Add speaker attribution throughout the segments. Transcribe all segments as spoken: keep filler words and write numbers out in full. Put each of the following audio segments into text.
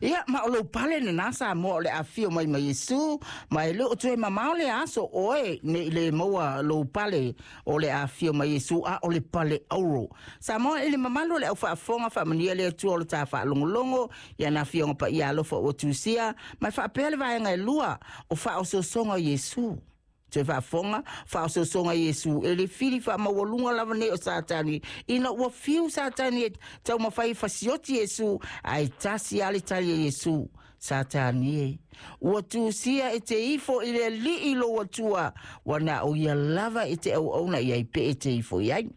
Speaker 1: Ia ma o lou pale lenā Samoa o le afifio mai ma Iesu, ma e le o toe mamao le aso oe nei le maua lou pale o le afifio mai Iesu, a o le pale auro. Samoa i le mamalu o le aufaafofoga, faamanuia le Atua o le ta faalogologo i ana afioga paia alofa ua tusia, ma e faapea le vaega e lua o faaosoosoga o Iesu. Toe faafofoga, faaosoosoga Iesu e le fili faamaualuga lava nei o Satani, ina ua fiu Satani e taumafai e fasioti Iesu, ae tasi lava le tali a Iesu, Satani e, ua tusia e te ifo i le Alii lou Atua, ua na o ia lava e te auauna i ai pe e te ifo i ai.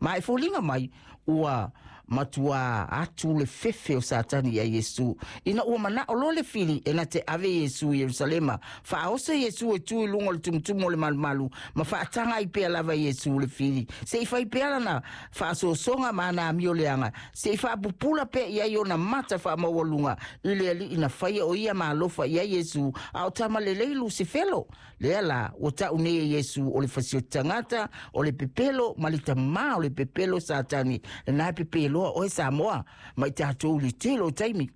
Speaker 1: Ma e foliga mai, ua matuā atu le fefe o Satani iā Iesu, ina ua manao loa le fili e na te ave Iesu i Ierusalema, faaoso Iesu e tu i luga o le tumutumu o le malumalu, ma faataga ai pea lava Iesu le fili, se i fai pea lana faasoasoga ma ana amio leaga, se i faapupula pea i ai ona mata faamaualuga i le Alii na faia o ia ma alofa i ai Iesu, a o tama lelei Lusifelo. Lea la, ua tau nei e Iesu o le fasioti tagata, o le pepelo, ma le tamā o le pepelo Satani, lenā e pepeloa oe Samoa, ma i tatou i le tele o taimi.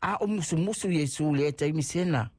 Speaker 1: A o musumusu Iesu i lea taimi sena,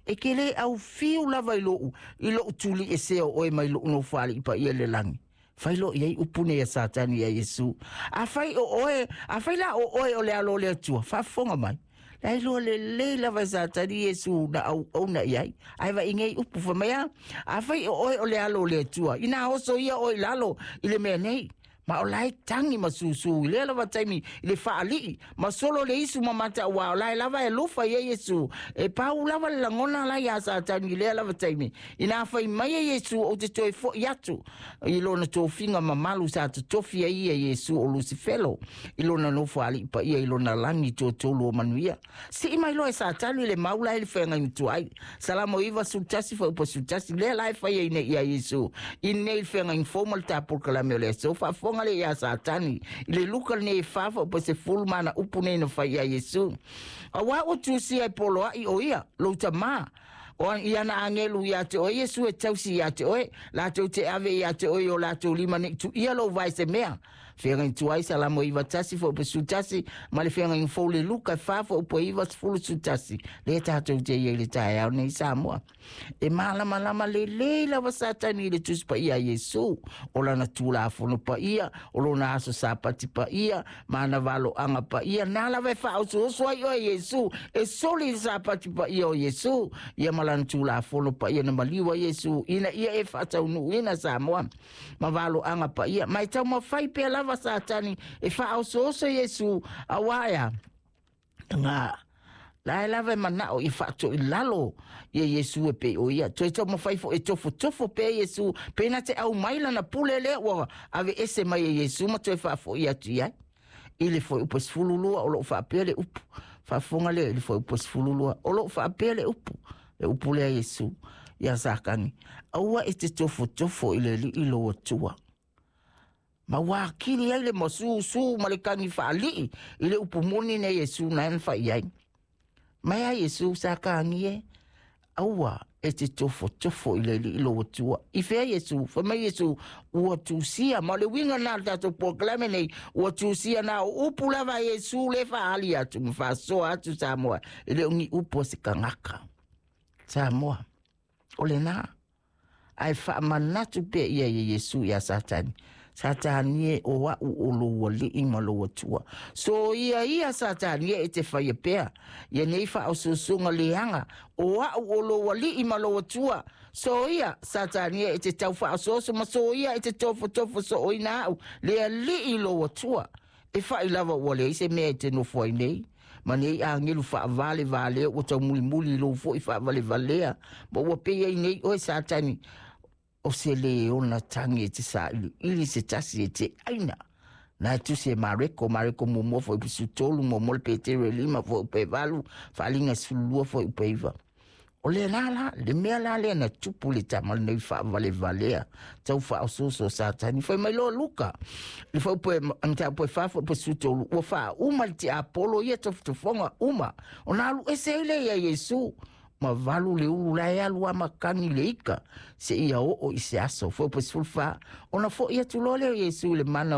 Speaker 1: E ke lē aufiu lava i loʻu, i loʻu tuli esea o oe mai loʻu nofoalii paia i le lagi. Fai loa i ai upu nei a Satani iā Iesu, Afai o oe, afai la o oe o le Alo o le Atua, faafofoga mai. La e iloa lelei lava e Satani Iesu na auauna i ai. Ae vaai nei upu fai mai a, Afai o oe o le Alo o le Atua, inā oso ia oe i lalo i le mea nei. Ma o la e tagi ma susū i lea lava taimi i le faalii, ma solo le isu ma mata ua o la e lava e alofa i ai Iesu. E pau lava le lagona la iā Satani i lea lava taimi. Inā fai mai e Iesu ou te toe foʻi atu i lona tofiga mamalu sa totofi ai ia Iesu o Lusifelo i lona nofoalii paia i lona lagi totolu o manuia. Sii mai loa e Satani le mau la e le feagaiga tuai. Salamo iva sefulu tasi fuaiupu sefulu tasi lea la e fai ai nei iā Iesu i nei le feagaiga fou ma le tapolokalame o le aso. Faafofoga lea iā Satani i le Luka lenei e fa fuaiupu sefulu ma ana upu nei na fai iā Iesu. Auā ua tusia e poloaʻi o ia, lou tamā, o i ana agelu iā te oe Iesu e tausi iā te oe, latou te ave iā te oe i o latou lima nei tuia lou vae se mea. Feagaiga tuai Salamo iva tasi fuaiupu sefulu tasi ma le feagaiga fou le Luka e fa fuaiupu iva sefulu sefulu tasi. Lea tatou te i ai i le taeao nei Samoa. E malamalama lelei lava Satani i le Tusi Paia a Iesu, o lana Tulafono Paia, o lona Aso Sapati Paia, ma ana valoaga paia. Na lava e faaosooso ai oe Iesu, e soli i le Sapati Paia o Iesu, ia ma lana Tulafono Paia na maliu ai Iesu, ina ia e faataunuuina Samoa ma valoaga paia. Ma e taumafai pea lava Satani e faaosooso Iesu, auā ea, nga la e lava e manao ia faatoilalo ia Iesu e pei o ia. Toe taumafai foi e tofotofo pea Iesu, pe na te aumai lana pule lea ua aveese mai e Iesu ma toe faafoʻi atu i ai. I le fuaiupu e sefulu lua o loo faapea le upu. Faafofoga lea i le fuaiupu e sefulu lua o loo faapea le upu. Le upu lea Iesu iā Satani, aua e te tofotofo i le Alii lou Atua. Ma ua akili ai le masusū ma le kagi faalii i le upu moni nei Iesu na e na fai ai. Mai a Iesu sa kagi e, aua e te tofotofo i le Alii lou Atua. I fea Iesu? Fai mai Iesu, ua tusia. Ma o le uiga lena o le tatou polokalame nei, ua tusia na o upu lava a Iesu le faaali atu ma faasoa atu Samoa, e le o ni upu a se tagata. Samoa, o lenā. Ae faamanatu pea ia ia Iesu iā Satani, Satani e, o aʻu o lou Alii ma lou Atua. So ia ia Satani e e te faia pea ia nei faaosoosoga leaga, o aʻu o lou Alii ma lou Atua. So ia Satani e e te tau faaosooso ma so ia e te tofotofo sooina aʻu le Alii lou Atua. E faʻi lava ua leai se mea e te nofo ai nei, ma nei agelu faavalevalea ua taumulimuli i lou foʻi faavalevalea, ma ua pei ai nei oe Satani, o se leona tagi e te saʻiliʻili se tasi e te ʻaina. Na e tusi e Mareko, Mareko muamua fuaiupu sefulu tolu, muamua le Petero e lima fuaiupu e valu, faaaliga e sefulu lua fuaiupu e iva. O lenā la, le mea la lea na tupu le tama lenei faavalevalea, tau faaosooso o Satani. Fai mai loa Luka, le fuaiupu e, mataupu e fa, fuaiupu e sefulu tolu, ua faauma le tiapolo ia tofotofoga uma, ona alu ese ai lea iā Iesu, ma valu le ulu la e alu a makani le ika, seia oo i se aso. Fuaiupu e sefulu fa, ona foʻi atu loa lea o Iesu i le mana